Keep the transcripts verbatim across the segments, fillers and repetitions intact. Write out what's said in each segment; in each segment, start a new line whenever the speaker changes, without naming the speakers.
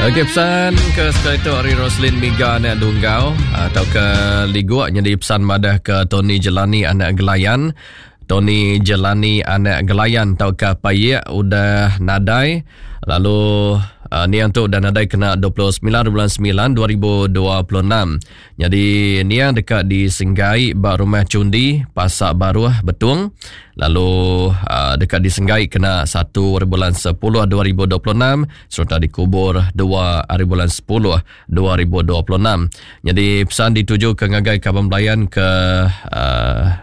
Okey, pesan ke sekali tu ari Roslin Miga anak Dunggau atau ke Liguk jadi pesan madah ke Tony Jelani anak Gelayan. Tony Jelani anak Gelayan atau ke Payek udah nadai, lalu uh, niang tu udah nadai kena dua puluh sembilan bulan sembilan dua ribu dua puluh enam. Jadi niang dekat di Senggai ba rumah Cundi Pasak Baruh Betung, lalu uh, dekat di Senggai kena satu bulan sepuluh dua ribu dua puluh enam serta dikubur dua hari bulan sepuluh dua ribu dua puluh enam. Jadi pesan dituju ke ngagai kaban belayan ke uh,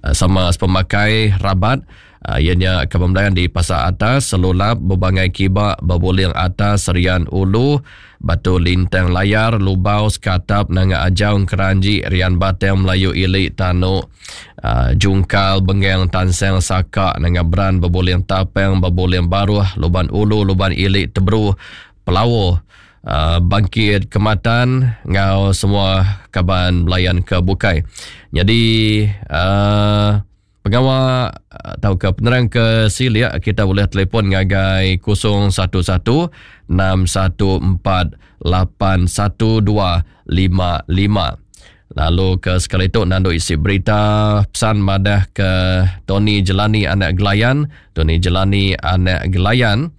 sama pemakai rabat. Uh, ianya kaban belayan di Pasar Atas, Selulap, Bebangai Kiba, Bebuling Atas, Serian Ulu, Batu Lintang Layar, Lubau, Sekatap, Nanga Ajau, Keranji, Rian Batang, Melayu Ili, Tanuk, uh, Jungkal, Bengang, Tansang, Saka, Nanga Beran, Bebuling Tapang, Bebuling Baruh, Luban Ulu, Luban Ili, Tebru, Pelawo, Uh, Bangkit Kematan ngau semua kaban belayan ke bukai. Jadi uh, pengawa atau ke penerang ke silia kita boleh telefon ngagai kosong satu satu enam satu empat lapan satu dua lima lima. Lalu ke sekali tu nandu isi berita pesan madah ke Tony Jelani anak Gelayan, Tony Jelani anak Gelayan.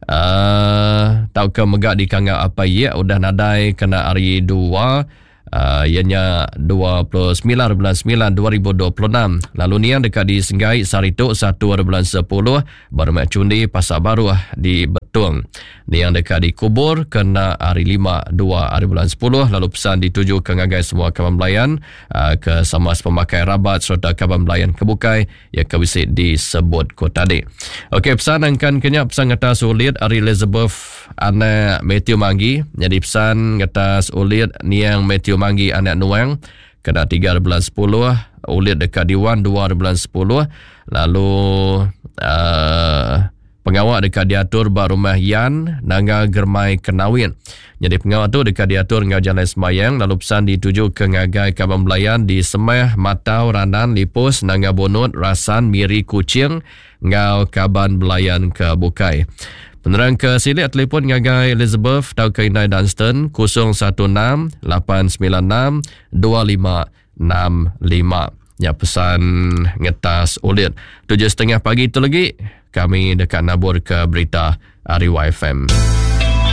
Uh, tau ke megak di kangak apa ye udah nadai kena hari dua uh, ianya dua puluh sembilan bulan sembilan dua ribu dua puluh enam. Lalu niang dekat di Senggai sehari tu satu bulan sepuluh Barumak Cundi Pasar Baru di Betung. Niang dekat dikubur kena hari lima dua hari bulan sepuluh. Lalu pesan dituju ke ngagai semua kaban belayan uh, ke sama pemakai rabat serta kaban belayan kebukai yang kebisi disebut ko tadi. Okey, pesan angkan kenyap pesan kata sulit ari Elizabeth anak Matthew Manggi. Jadi pesan kata sulit niang Matthew Manggi anak Nuang kena tiga bulan sepuluh, ulit dekat Diwan dua bulan sepuluh. Lalu uh, pengawal dekat diatur ba rumah Yan Nanga Germai Kenawin. Jadi pengawal tu dekat diatur ngau jalan semayang. Lalu pesan dituju ke ngagai kaban belayan di Semeh, Matau, Ranan, Lipus, Nanga Bonut, Rasan, Miri, Kuching ngau kaban belayan ke bukai. Penerang ke silik telefon ngagai Elizabeth tau ke Inai Dunstan kosong satu enam lapan sembilan enam dua lima enam lima. Ya, pesan ngetas ulit. Tujuh setengah pagi tu lagi kami dekat nabur ke berita Ari Y F M.